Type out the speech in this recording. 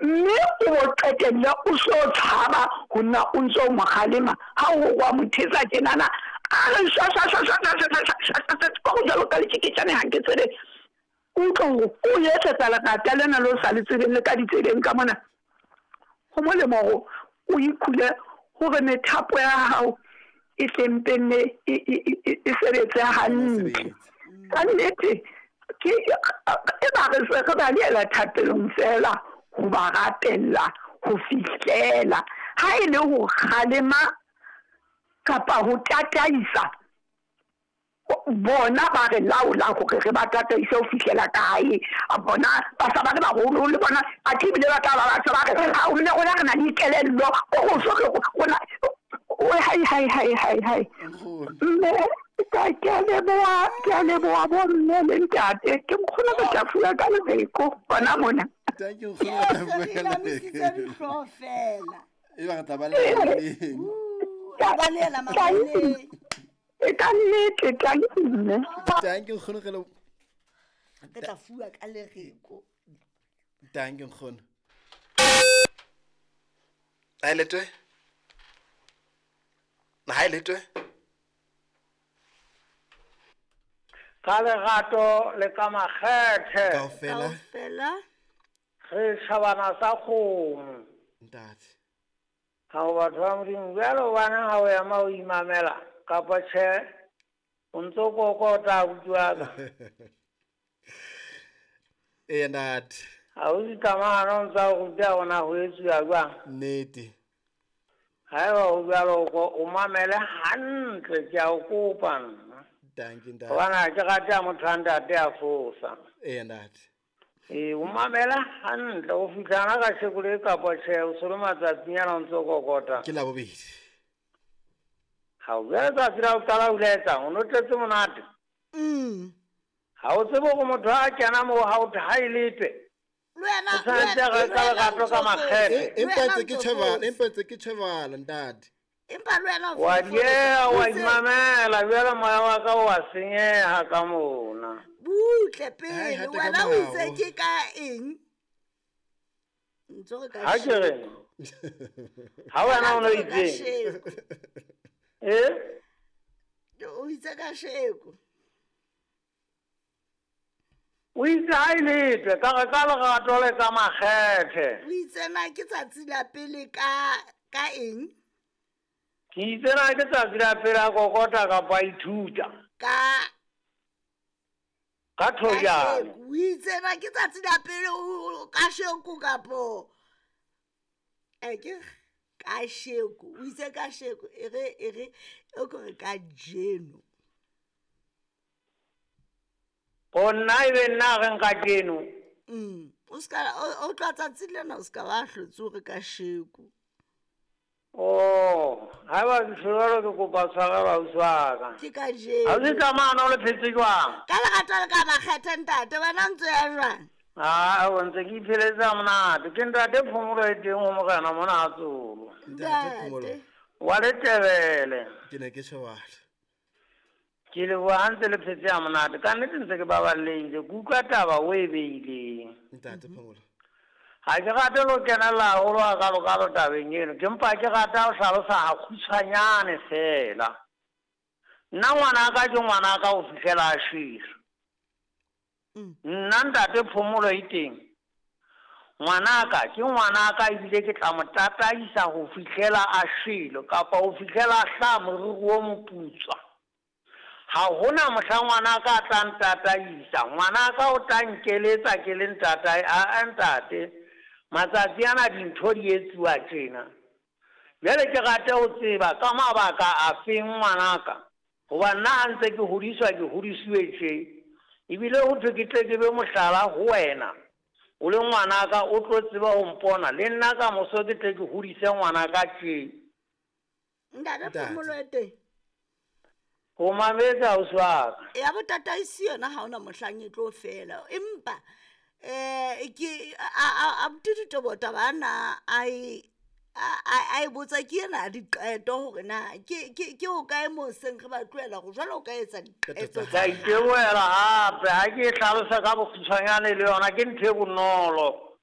Mme o bo qetelle o so tshaba ho nna o ntso mo kgalema ha o wa mo thetsa tjenana a re shwashwashwashwashwashwashwashwa ka go jalo ka letjeketjane ha ke tsebe utlwe hore o etsetsa lerata lena le o sa le tsebeng le ka ditsebeng ka mona. Ho molemo hore o ikhule hore methapo ya hao e hlempenne e sebetse hantle. Ka nnete ke e ba re se re balehela thapelong fela ho ba rapella ho fihlela ha e le ho kgalema kapa ho tataisa bona ba re laola hore re ba tataise ho fihlela kae. Bona ba sa ba le baholo le bona athe ebile ba tla ba ba se ba re ha o rona re na le dikelello ko go so re rona hai hai hai hai hai. Mme ke a leboha, ke a leboha bo mme le ntate. Ke nkgono re tla fuwa ka lereko gona mona. Thank you, nkgono, re tla fuwa ka lereko. Fela. E ba re tla baleela maleng. Re baleela maleng. E ka nnete, thank you mme. Thank you nkgono, re le Re tla fuwa ka lereko. Thank you nkgono. Ha e letwe? Ha e letwe? Ka lerato le ka makgethe. Kaofela. Kaofela. Re tjhabana sa kgomo. Ntate. Ha o batho ba Modimo, bjalo hobaneng ha o ema o imamela kapa tjhe o ntso kokota abuti wa ka. Eya ntate. Ha o dikamano o ntsa o ruta hore na ho etsuwa jwang. Nnete. Haeba ho jwalo o mamele hantle ke a o kopa nna. Thank you ntate. Hobane ha ke rate ha motho a ntate a fosa. Eya ntate. Ee, o mamele hantle o fihla hana kasheko le kapa tjhe o se le matsatsinyana o ntso kokota. Ke Labobedi. Ha o jwale tsatsi la ho qala o ile etsang o no tletse monate. Ha o tsebe hore motho ha kena moo ha o ha e letwe. Le wena O tshwanetse a re ka lerato ka makgethe. Empa ntse ke tjhebala, empa ntse ke tjhebala ntate. Empa le wena o Wa dieha, wa imamela, jwale moya wa ka o a senyeha ka mona. Butle Hai, pele, hata ka wena o itse molao. ke ka eng? Ntso re ka Ha ke re. Ha wena o no Ntso re ka itseng? sheko. Eh? O itse ka sheko. O itse ha e letwe ka re ka lerato le ka makgethe. O itse na ke tsatsi la pele ka ka eng? Ke itse na ke tsatsi la pele a kokota kapa a ithuta. Ka Ka thojane. O itse na ke tsatsi la pele ka sheko kapo ke ka sheko. O itse ka sheko e re e re o ko re ka jeno. O nna ebe nna re nka keno. O ska o tla tsatsi lena o ska ba hlotse o re ka sheko. Oh, ha ba ke tshwarelo ke kopa tshwarelo ausi wa ka. Ke ka jeno. Ha o tsamaya o le phetse jwang? Ka lerato le ka makgethe ntate, wena ntse ya jwang? Ah, o ntse ke ipheletsa monate. Ke ntate Phomolo e teng ho morena mona a tsolo. Ntate Phomolo. Wa Letebele. Ke ne ke tjhebala. Ke leboha ha ntse le phetse ha monate. Ka nnete ntse ke baballehile. Ke utlwa taba o e beileng. Ntate Phomolo. Ha ke rate lo kenella haholo hakalo-kalo tabeng eno. Ke mpa ke rata ho hlalosa hakgutshwanyane feela. Nna ngwanaka ke ngwanaka ho fihlela a shwele. Nna ntate Phomolo e teng. Ngwanaka ke ngwanaka ebile ke tla mo tataisa ho fihlela a shwele kapa ho fihlela a hlaha moriri o moputswa. Ha hona mohla ngwanaka a tla ntataisa. Ngwanaka o tla nkeletsa ke le ntatae, a ntate. Matsatsi ana dintho di etsuwa tjena. Jwale ke rate ho tseba ka mabaka a feng ngwanaka. Hoba nna ha ntse ke hodiswa ke hodisiwe tje. Ebile ho thwe ke tle ke be mohlala ho wena. O le ngwanaka o tlo tseba ho mpona. Le nna ka moso ke tle ke hodise ngwanaka tje. Ntate Phomolo e teng. Ho mametse ausi wa ka. Ya botataisi yona ha hona mohlang e tlo fela. Empa ke a botitito taba ana a e botsa ke ena diqeto hore na ke o kae mo seng re ba tlohela go jwalo o ka etsa diqeto. Ka itebohela hape ha ke e hlalosa ka bokgutshwanyane le yona ke ntho e bonolo.